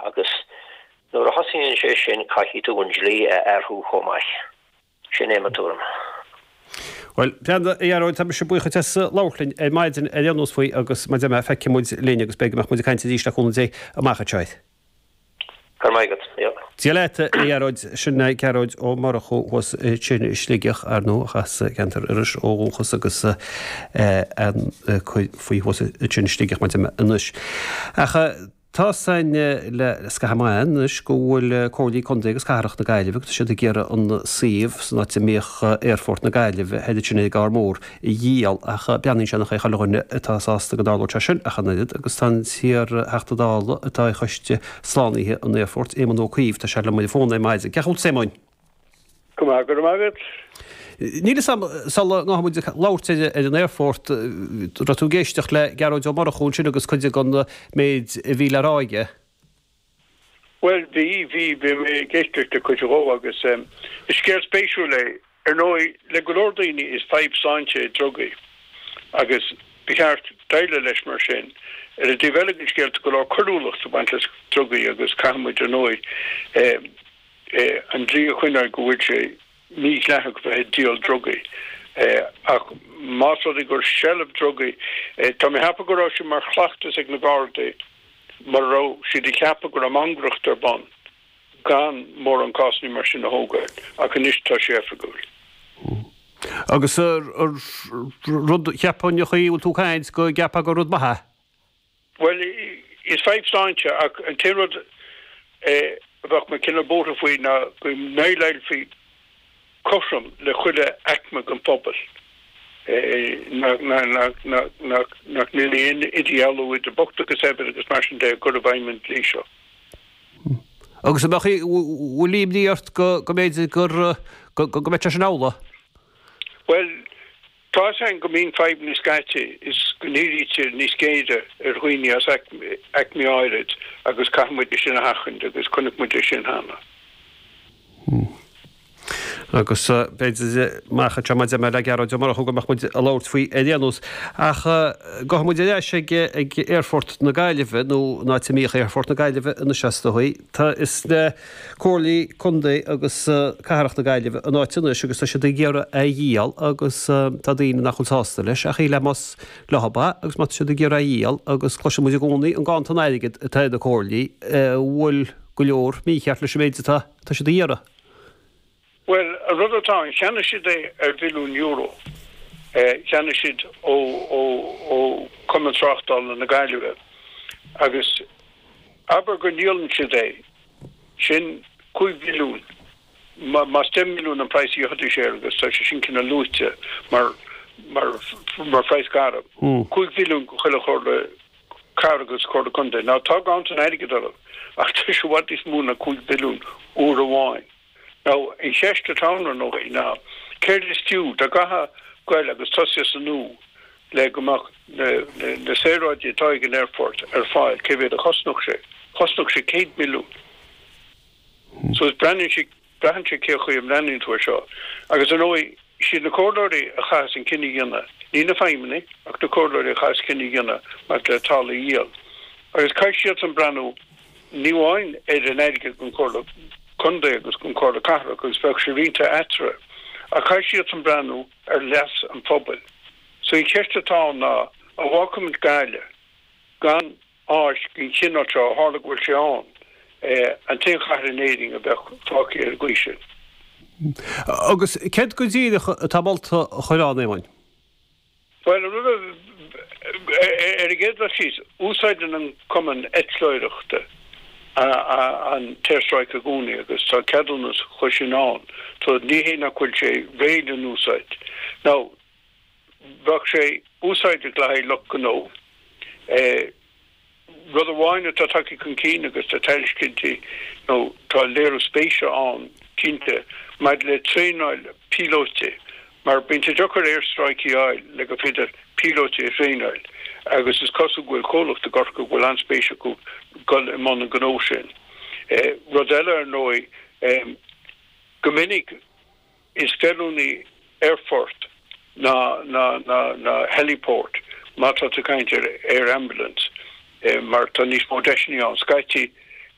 agus nuair a thosaíonn sé sin caithfidh tú an dlí a athrú chomh maith. Sin é mo tuairim. Bhuel, a Ghearóid, tá mise buíoch duit as labhairt linn ar maidin ar aon nós faoi agus mar a deir mé, feicfidh muid linn agus b'fhéidir go mbeadh muid ag caint arís le cúnamh Dé amach anseo. Go raibh maith agat. Yeah. Dia leat, a Ghearóid. Sin é Gearóid Ó Murchú thuas ansin i Sligeach, ar ndóigh, as ceantar Iorrais ó dhúchas agus faoi thuas ansin i Sligeach mar a deir mé anois. Ach tá 's againn le scaitheamh maith anois go bhfuil Comhairlí Contae agus Cathrach na Gaillimhe agus tá siad ag iarraidh an suíomh san áit a mbíodh Aerfort na Gaillimhe thoir ansin ag an gCarr Mór a dhíol ach breathnaíonn sé nach é chuile dhuine atá sásta go dtarlódh sé sin ach an oiread agus tá an t-iar-Theachta Dála atá ar choiste slánaithe an aerfoirt, Éamon Ó Cuív, tá sé liom ar an bhfón ar maidin. Cén chaoi a bhfuil tú, a Éamoinn? Go maith, go raibh maith agat. Níl 'fhios a'm, sula ngabhfaidh muid ag labhairt ar an aerfort, raibh tú ag éisteacht le Gearóid Ó Murchú ansin agus cuid den méid a bhí le rá aige? Bhuel, bhí, bhí, bhí mé ag éisteacht le cuid dhó agus is scéal spéisiúil é. Ar ndóigh, le go leor daoine is fadhb sláinte é drugaí agus ba cheart déileáil leis mar sin. Ar an dtaobh eile den scéal tá go leor coiriúlacht ag baint le drugaí agus caithfidh muid, ar ndóigh, an dlí a choinneáil go bhfuil sé mídhleathach bheith ag díol drugaí. Ach más rud é gur seilbh drugaí, tá mé ag ceapadh go raibh sé mar chleachtas ag na Gardaí mura raibh siad ag ceapadh go raibh mangaireacht ar bun gan mórán cásanna mar sin a thógáil, ach anois tá sé oifigiúil. Agus rud, cheapfainn, an chaoi a bhfuil tú ag caint, go gceapfá gur rud maith é? Bhuel, is fadhb sláinte, ach an t-aon rud a bheadh mé cineál buartha faoi ná go ndéileálfaí cothrom le chuile aicme den phobal, nach ndéanfaí aon idirdhealú idir bocht agus saibhir agus mar sin de i gcur i bhfeidhm an dlí seo. Agus an mbeadh, bhfuil imní ort go mb'fhéidir gur, go mbeadh sé sin amhlaidh? Bhuel, Tá 'fhios a'inn go mbíonn fadhbanna scaití is go ndírítear níos géire ar dhaoine as aicmí áirid agus caithfidh muid é sin a sheachaint agus chonaic muid é sin cheana. Agus b'fhéidir amach anseo mar a deir mé le Gearóid Ó Murchú go mbeadh muid ag labhairt faoi ar aon nós. Ach gabhfaidh muid ar ais ag Aerfort na Gaillimhe nó an áit a mbíodh Aerfort na Gaillimhe anois is dóigh. Tá is le Comhairlí Contae agus Cathrach na Gaillimhe an áit anois agus tá siad ag iarraidh é a dhíol agus tá daoine nach bhfuil sásta leis ach shílfeá más leo é agus má tá siad ag iarraidh é a dhíol agus cloiseann muid i gcónaí an ganntan airgid atá ar na comhairlí, an bhfuil go leor mícheart leis an méid atá tá siad a iarraidh. Bhuel, an rud atá ann, cheannaigh siad é ar bhilliún euro. Cheannaigh siad ó ó Chumann Tráchtála na Gaillimhe agus abair go ndíolann siad é, sin 5 bhilliún, más 10 mbilliún an praghas a gheobhaidís air agus tá sé sin cineál luaite mar mar mar phraghas garbh, 5 bhilliún do chuile chomhairle cathrach agus comhairle contae. Now tá ganntan airgid orthu ach tá sé i bhfad níos mó ná 5 bhilliún uair amháin. Now, an cheist atá ann, ar ndóigh, ná céard is fiú, dá gcaithfeá goil agus tosaí as an nua le go mbeadh na saoráidí atá ag an aerfort ar fáil, cé mhéad a chosnódh sé? Chosnódh sé 100 milliún. So, breathnaíonn sé, braitheann sé cé chaoi a mbreathnaíonn tú air seo. Agus, ar ndóigh, siad na comhairleoirí a chaithfeas an cinneadh a dhéanamh, ní na feidhmeannaigh, ach na comhairleoirí a chaithfeas cinneadh a dhéanamh maidir le talamh a dhíol. Agus caithfidh siadsan breathnú ní amháin ar an airgead don Chomhairle Contae agus don Chomhairle Cathrach agus bheadh sé roinnte eatarthu, ach caithfidh siadsan breathnú ar leas an phobail. So an cheist atá ann ná, an bhfágfaimid Gaillimh gan áis den chineál seo, ó tharla go bhfuil sé ann, an t-aon chathair in Éirinn a bheadh fágtha ar an gcaoi sin? Agus céard go díreach atá molta a chur ann, Éamoinn? Bhuel, an rud a, ar an gcéad dul síos, úsáideann an Cumann Eitleoireachta an t-aerstráice i gcónaí agus tá ceadúnas chuige sin ann, so ní hé nach bhfuil sé réidh le n-úsáid. Now, bheadh sé úsáideach le haghaidh lucht gnó. Rud amháin atá tagtha chun cinn agus tá tairiscintí nó tá léiriú spéise ann cinnte maidir le traenáil píolótaí mar bíonn sé deacair aerstráicí a fháil le gur féidir píolótaí a thraenáil agus is cosúil go bhfuil comhlacht i gCorcaigh go bhfuil an-spéis acu dul i mbun an ghnó sin. Rud eile ar ndóigh, go minic, Is feiliúnaí aerfort ná ná heliport má tá tú ag caint ar air ambulance mar tá níos mó deiseanna ann. Scaití.